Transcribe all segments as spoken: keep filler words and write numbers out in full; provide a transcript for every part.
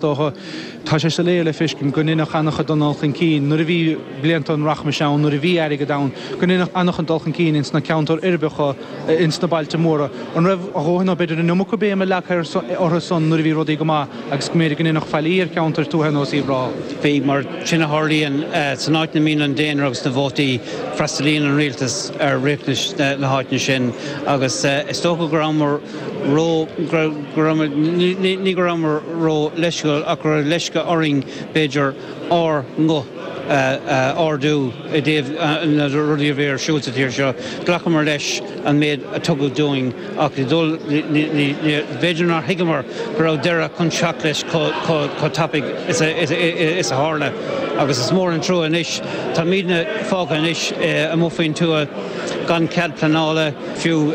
Dócha, tá sé soiléir le feiscint go ndéanfadh an-chuid den dul chun cinn nuair a bhí blianta an rachmais ann, nuair a bhí airgead ann, go ndéanfadh an-chuid dul chun cinn ins na ceantair uirbeacha, ins na bailte móra. An raibh a dhóthain nó b'fhéidir an iomarca béime leagtha orthu san nuair a bhí rudaí go maith agus go mb'fhéidir go ndéanfadh faillí ar cheantair tuaithe ar nós Uíbh Ráthach? Bhí, mar sin a tharlaíonn san áit ina mbíonn an daonra agus na vótaí, freastalaíonn an rialtas ar riachtanais na háiteanna sin agus is dócha go rabhamar ró, go rabhamar, ní go rabhamar ró leisciúil ach go raibh leisce orainn b'fhéidir ár nguth a ardú i dtaobh na rudaí a bhí ar siúl sa tír seo. Ghlacamar leis an méid a tugadh dúinn ach b'fhéidir nár thuigeamar go raibh deireadh chun teacht leis chomh tapaidh is a tharla agus is mór an trua anois. Táimidne fágtha anois amuigh faoin tuath gan cead pleanála fiú.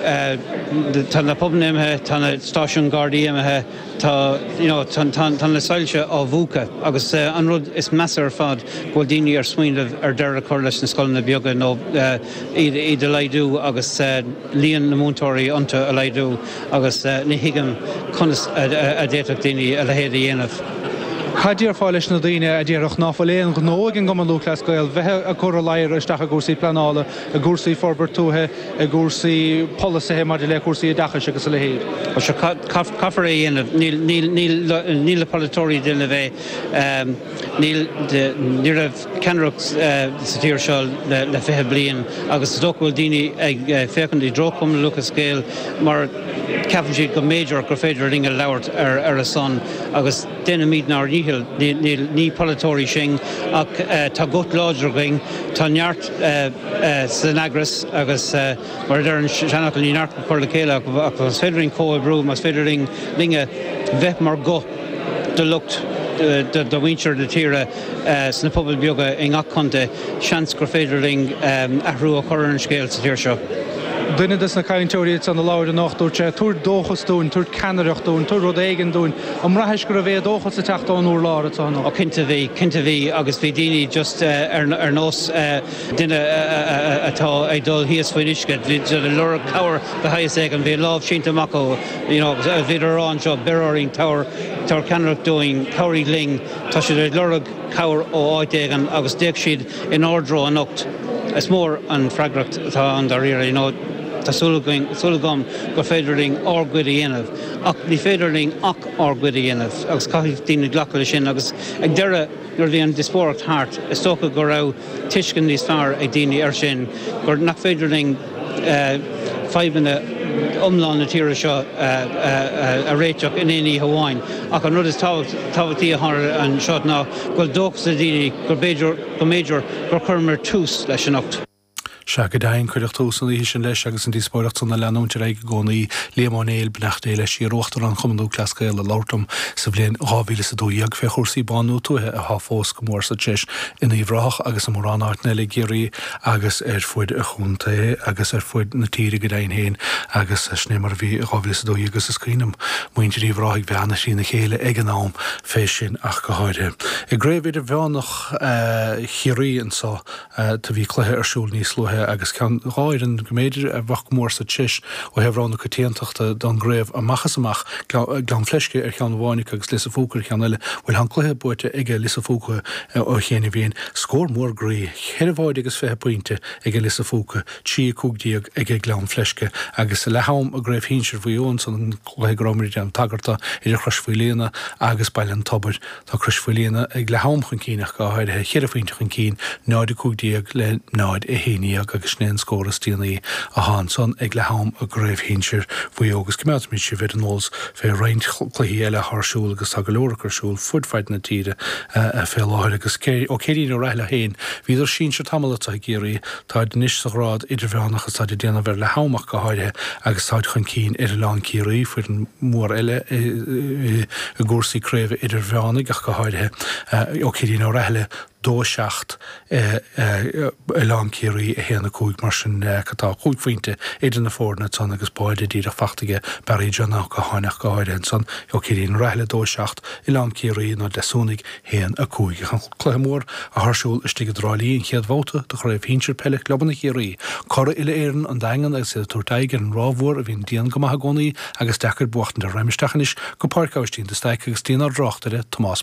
Tá na pubanna imithe, tá na stáisiúin Gardaí imithe, tá you know tá tá na soilse á mhúchadh agus an rud is measa ar fad go bhfuil daoine ar smaoineamh ar deireadh a chur leis na scoileanna beaga nó iad iad a laghdú agus líon na múinteoirí iontu a laghdú agus ní thuigim conas a d'fhéadfadh daoine a leithéid a dhéanamh. Cad déarfá leis na daoine a déarfadh ná fuil aon ghnó ag an gCumann Lúthchleas Gael bheith ag cur a ladhar isteach i gcúrsaí pleanála, i gcúrsaí forbairt tuaithe, i gcúrsaí polasaithe maidir le cúrsaí oideachais agus a leithéid? Bhuel, sure, caithfear é a dhéanamh. Níl, níl, níl, níl na polaiteoirí ag déanamh é. Níl, ní raibh ceannaireacht sa tír seo le, le fiche bliain agus is dócha go bhfuil daoine ag féachaint i dtreo Chumann Lúthchleas Gael mar ceapann siad go mb'fhéidir gur féidir linn a labhairt ar, ar a son agus déanaimid ár ndícheall. Níl, níl, ní polaiteoirí sinn ach tá guth láidir againn, tá neart san eagras agus mar a deir an seanfhocal ní neart go cur le chéile ach más féidir linn comhoibriú, más féidir linn linne bheith mar ghuth do lucht do mhuintir na tíre sna pobail beaga i ngach contae, seans gur féidir linn athrú a chur ar an scéal sa tír seo. Duine des na cainteoirí ansan a labhair anocht, dúirt sé, tabhair dóchas dúinn, tabhair ceannaireacht dúinn, tabhair rud éigin dúinn. An mbraithis go raibh éadóchas ag teacht ón urlár anso anocht? Ó cinnte bhí, cinnte bhí agus bhí daoine just ar nós duine atá ag dul thíos faoin uisce, bhí siad ag lorg cabhair de shaghas éigin, bhí a lámh sínte amach acu, you know, bhíodar ag rá anseo, beir orainn, tabhair, tabhair ceannaireacht dúinn, cabhraigh linn, tá siad ag lorg cabhair ó áit éigin agus d'fhéach siad inár dtreo anocht. Is mór an freagracht atá ann dáiríre, you know, tá súil againn, súil agam gur féidir linn ár gcuid a dhéanamh ach ní féidir linn ach ár gcuid a dhéanamh agus caithfidh daoine glacadh leis sin agus ag deireadh nuair a bhí an díospóireacht thart is dócha go raibh tuiscint níos fearr ag daoine air sin gur nach féidir linn fadhbanna iomlán na tíre seo a réiteach in aon oíche amháin ach an rud is tábhachtaí a tharla anseo ná go bhfuil dóchas ag daoine gur b'fhéidir go mb'fhéidir gur chuireamar tús leis anocht. Sea, go deimhin, cuireadh tús an oíche sin leis agus an díospóireacht san ag leanúint ar aghaidh i gcónaí. Liam Ó Néill, beannacht Dé leis, iar-Uachtarán Chumann Lúthchleas Gael ag labhairt liom sa bhliain dhá mhíle is a dó dhéag fé chúrsaí bánú tuaithe atá fós go mór sa treis in Uíbh Ráthach agus i mórán áiteanna eile i gCiarraí agus ar fuid an chontae agus ar fuid na tíre go deimhin féin agus sin é mar a bhí i dhá mhíle is a dó dhéag agus is cuimhin liom muintir Uíbh Ráthaigh bheith ana-thrína chéile ag an am fé sin ach go háirithe. I gCraobh Idirmheánach Chiarraí anso do bhí cluiche ar siúl níos luaithe agus ceann, dhá fhoireann go mb'fhéidir a bheadh go mór sa treis ó thaobh rogha na coitiantachta don gcraobh amach is amach, Gleann Fleisce ar cheann amháin acu agus Lios a' Phúca ar cheann eile. Bhuel, tá an cluiche buaite aige Lios a' Phúca ó chianaibh féin. Scór mór groí, ceithre bháide agus fiche pointe aige Lios a' Phúca, trí a cúig déag aige Gleann Fleisce agus leath am i gCraobh Shinsir Mhaigh Eo ansan an cluiche go rabhamar ag déanamh tagairt dó idir Chrois Mhaoilíona agus Baile an Tobair. Tá Crois Mhaoilíona ag leath am chun cinn ach go háirithe, cheithre phointe chun cinn, náid a cúig déag le náid a haon dhéag agus sin é an scór is déanaí atá ansan ag leath am i gCraobh Shinsir Mhaigh Eo agus coimeádfaimid sibh ar an eolas fé roinnt cluichí eile atá ar siúl agus tá go leor acu ar siúl fud fad na tíre fé láthair agus ó Céirín Ó Rathaille féin, bhíodar sinsir tamall anso i gCiarraí, táid anois sa ghrád idirmheánach agus táid ag déanamh ar leath am ach go háirithe agus táid chun cinn ar Oileán Ciarraí, foireann mhór eile i gcúrsaí craoibhe idirmheánaigh ach go háirithe. Ó Céirín Ó Rathaille, dó a seacht, Oileán Ciarraí a haon a cúig mar sin tá cúig phointe idir na foirne ansan agus báide díreach fachta aige Barry John Ó Catháin ach go háirithe ansan ó Cillín Raithle dó a seacht, Oileán Ciarraí nó Deasúnaigh haon a cúig. An cluiche mór atá ar siúl istigh i dTrá Lí an chéad bhabhta de Chraobh Shinsir Peile Clubanna Chiarraí. Curaidh Uile-Éireann an Daingean agus iad ag tabhairt aghaidh ar an Ráth Mhór a bhíonn dian go maith i gcónaí agus deacair buachtaint. Raghaim isteach anois go Páirc Aibhistín de Staic agus dtí'n ár dtráchtaire Tomás